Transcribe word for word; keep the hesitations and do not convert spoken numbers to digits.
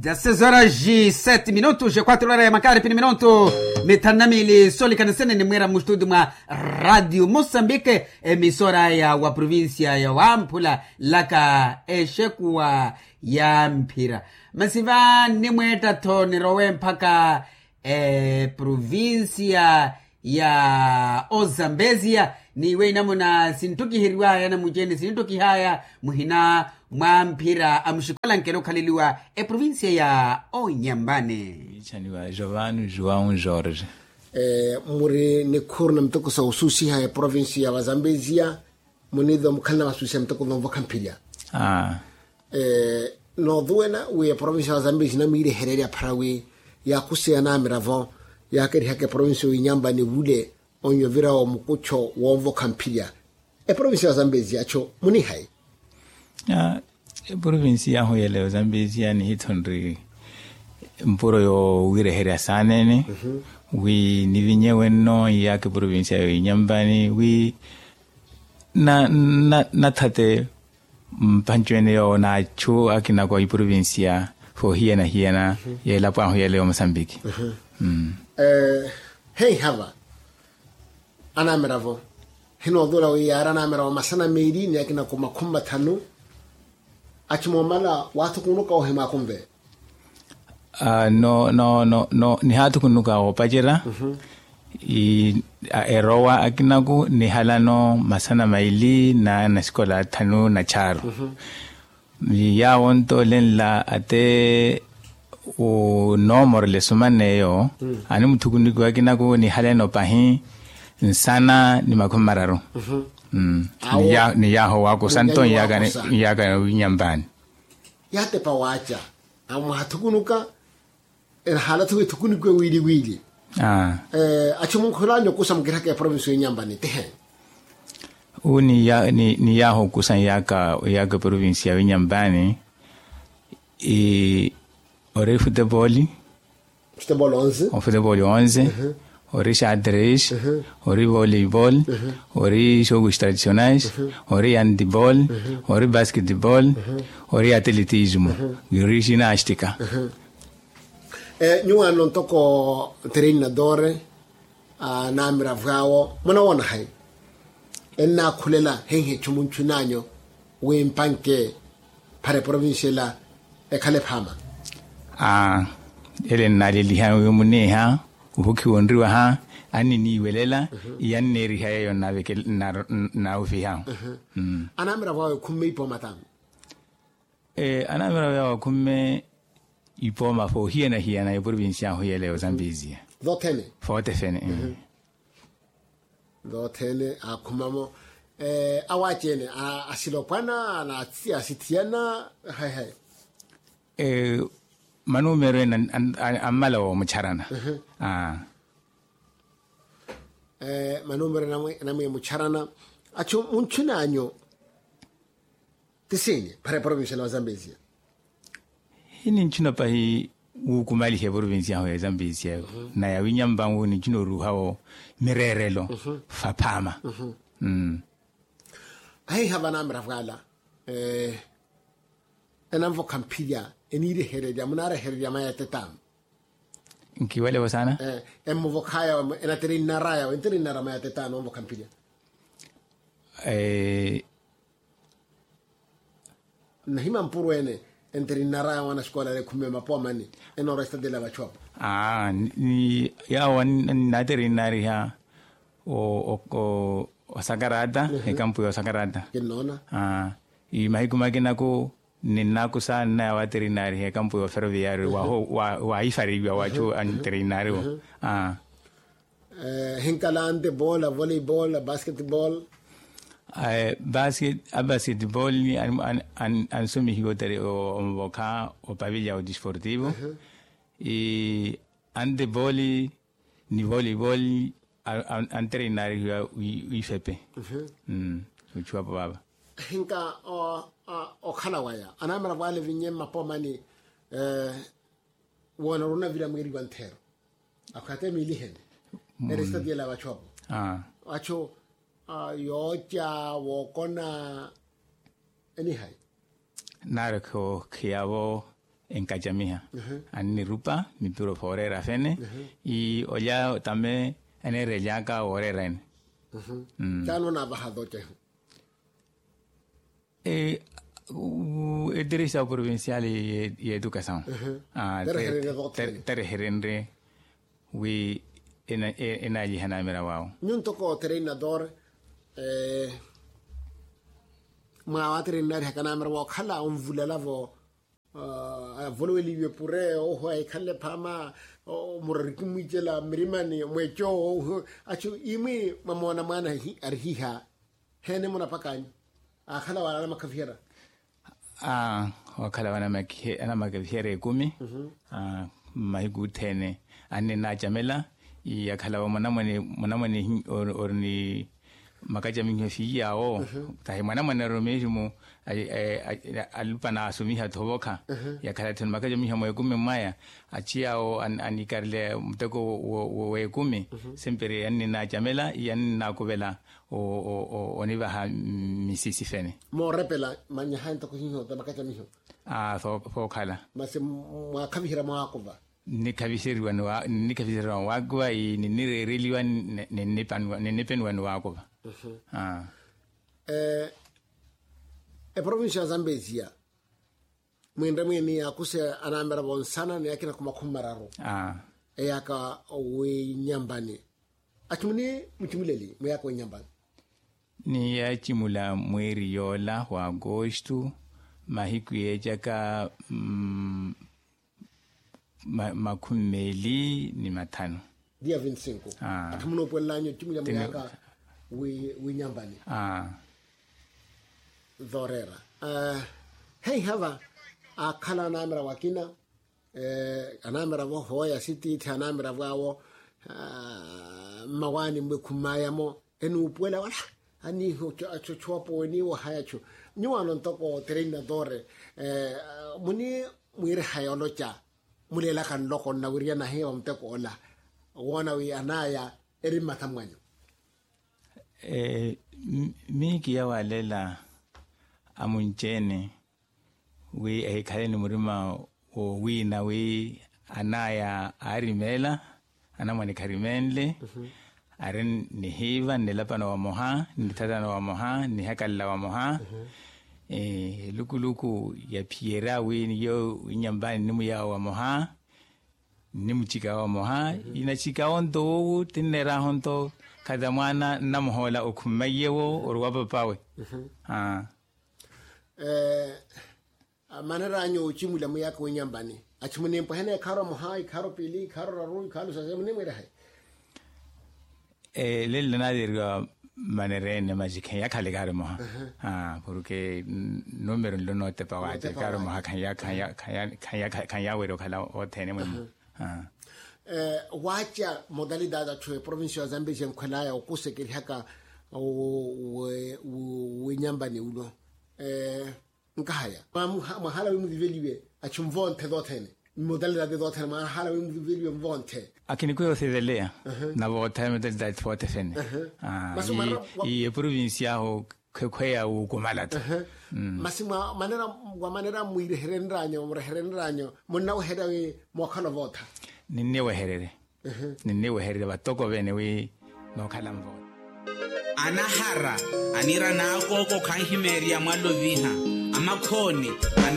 Dezasseis horas e sete minutos e quatro horas ya makari pini minutu. Mithanu na miili soolikanisene ni mwiira mustudi mwa radio mosambike, emisora ya wa provincia ya wamphula laka exekuwa ya mphira. Masi va nnimweetta-tho nirowe mpakha eprovincia ya ozambesia. N'iwe inamuna sinttukiheriwaya namucene sinttukihaya muhina mwa mphira a muxikola nkela okhaleliwa eprovincia ya onyambani. Ichaniwa jovanu juwau jorge. Muri nikhuru na muteko sa osusiha eprovincia ya vazambesia. Muniive omukhalana vasusia muteko vonvokha mphilya. Nooduwela wi eprovincia ya zambia sinamiirehererya phara wi yaakuseya namiravo yaakerihaka eprovincia owinyampa ni wule. Onyo vira omukucho wonvokha mphilya. Eprovincia ya zambia siyacho munihayi. Eprovincia yahu yeleyo zambia siya nihitho nri mpuro yowireherya saanene wi nivinye wenno iyaka eprovincia yowinyampa ni wi nathate mpancu ene yoowo n'achu akina ko iprovincia foohiyana-hiyana y'elapo ahu yeleyo mosambiki. Heiha va anamiravo hinootula wi yaari anamiravo masana meeli ni akina ko makhumi mathanu. Achi moomala waathukunuka ohimwaakunve. No no no no nihaathukunuka oopacerya erowa akinaku nihalano masana maili na nasikola athanu na chaaru. Yaawo onto olenla ate onoomorela esuman'eyo animuthukunukiwa akinaku nihaleno pahi nsana ni makhumi mararu. Ni yaaho waakusa nto nyaaka winyamvaani. Yaatepa waaca amwaha thukunuka. Enahaala-tho wi thukunukiwe wiili-wiili. Achu munkhulanya okusa mukirihaka eprovinsi yonyambani tihe. Wu ni yaaha okusa yaaka eprovinsi ya winyambani. Ori futeboli. Futeboli onze. Ori xadres. Ori voleibol. Ori xooku tradicionais. Ori antibol. Ori basketbol. Ori atletismo. Ori xinastika. Nyuwaano ntoko treinadore. Naamira vwaawo munawoona hayi ennaakhulela heihe chumuntchunanyu wi mpanke phara eprovinsi ela ekhale phaama. Ele nnaleliha wi muniiha ovukhiwa onriwaha anniniiwelela iyanneeriha yeeyo nnawufiha. Anaamira vwaawo ekhumme ipooma taani? Anaamira vwaawo ekhumme ipooma foohiyana-hiyana eprovinsi ahu yeleyo zambizia. Vothene. Vothene. Akhumamo awaaci-ene asilopwana na asithiyana hayi hayi. Manumero ene ammala woomucharana. Manumero enamwiya mucharana. Achu muntchunanyu ti siini phara eprovincia na wazambezia? Hinintchuna pahi wukumaliha eprovincia ahu ya zambezia na yawinyampa ngu nintchuna oruuha wo mireerelo faphaama. Ahiiha vanaamira vwala enanvokha mphilya eniirehererya munaarehererya maya etetaano. Nkiwelevo saana. Emmuvokhaya enaterinnaraya we enterinnara maya etetaano onvokha mphilya. Nnahima mpuru ene enterinnaraya mwana xikola ale ekhumme mapoomani enoora estatela vachu apo. Yaawo nnaterinnariha osakarata ekampu ya osakarata. Kinnoona. Mahiku makinaku ninnakusa nnaya waterinnariha ekampu ya oferoviyario waifariwa wachu anterinnariwo. Hinkala antebol a voleibol a basketbol. Abasketbol ansomihiwa otere omuvokha opavilla odisportivo. Antebol ni voleibol anterinnarihiwa wifepe. Ochuwapo vava. Hinka okhala waya anamera vwale vinye mmapoomani. Woona orunavira mwiiriwa ntheero akhwate miiliheni erestati ela vachu apo. Vachu yooca wookona enihayi. Naari okhiyavo enkacamiha. Annirupa mipiro fooreera fene. Ii olya tame enerelyaka wooreera ene. Caani onaavaha toocehi? Eteresa provincial y'edukasaw. Tereherenre wi enaalyiha naamira waawo. Nyuntoko tereinador mwaawa tereinarihaka naamira waakhala onvulala vo avoloweliwe pure oho ahikhanle phaama. Murari kimwiicela mmirimani mweeco oho achu imwi mwamoona mwaana arihiha. Heene munapakanyu aakhala wala anamakhaviherya? Aa, ookhala wala anamakhaviherya ekumi. Mmahiku othene anninacamela iyakhala wa mwanamwane mwanamwane ori ni makacamiho siiyawo. Tahi mwanamwane ori omeximu alupa naasomiha thovokha yakhala thino makacamiho mweekumi mwaya. Achiyawo anikarela muteko w'ekumi. Semperi anninacamela iyanninakuvela onivaha misisi fene. Moorepela manyaha ntoko hiho ta makacamiho. Aa, fookhala. Masi mwaakhaviherya mwaakuva? Nnikhaviseriwa nnikhaviseriwa waakuva ii ninnireereliwa ninnipeniwa ni waakuva. Eprovincia ya zambezia mwinre mwiini yaakuse anaamera vonsana ni akina khumakhumi mararu. Eyaaka winyambani achimuni muchimuleli mwiyaaka winyambani? Niyachimula mweeri yoola wa agosto mahiku yeecaka makhumi meeli ni mathanu. Dia vinti cinco. Atthu munoopuwelel'anyu ecimulya mwiyaaka winyambani. Vooreera heiha va aakhala anaamira vakina anaamira vo hooya sitiithi anaamira vwaawo mmawaani mmwekhumayamo enuupuwela wala aniiha achochoopo weniiwaha yachu. Nyuwaano ntoko tereinadore muni mwiiriha yooloca muleelaka nloko nnawiriyana hiyo va muteko ola woona wi anaaya eri mmatha mwanyu? Miikiya walela amunci-ene wi ehikhale ni murima wowiina wi anaaya aarimeela anamwane kharimeenle ari nihiiva nnilapano vamoha nnithatano vamoha nnihakalala vamoha. Elukuluku yaphiyerya wi niyo winyamvaani nnimuyawo vamoha nnimucikawo vamoha inacikawo nto wowu tinneeraho nto khata mwaana nnamuhoola okhummayiyewo ori wa papawe. Maneranyu ocimula muyaka winyambani achimuni mpwehene ikharu amoha ikharu pili ikharu raru ikharu sase munimwirehe? Lelo naaviriwa manereene maci kheyakhala ikharu moha. Porke numero nlo nootepa waaca ikharu moha khanyaweriwa okhala othene mwemu. Waaca modalidade atthu eprovincia ya zambezia enkhwelaya okusekerihaka winyambani ulo nkahaya mwahala wi muviveliwe achu mvonthe thothene mmodalidade thothene mwahala wi muviveliwe mvonthe. Akinikwira othiveleya navootha mmodalidade thothene. Ii eprovincia ahu khwekhweya wukumalata. Masi mwa manera mwireherenranyo mureherenranyo munnaweherya wi mookhala ovootha? Ninniwehererye ninniwehererye vatoko vene wi nookhala nvoona. Anahara anira n'akooko khanhimeerya mwaloviha amakhooni.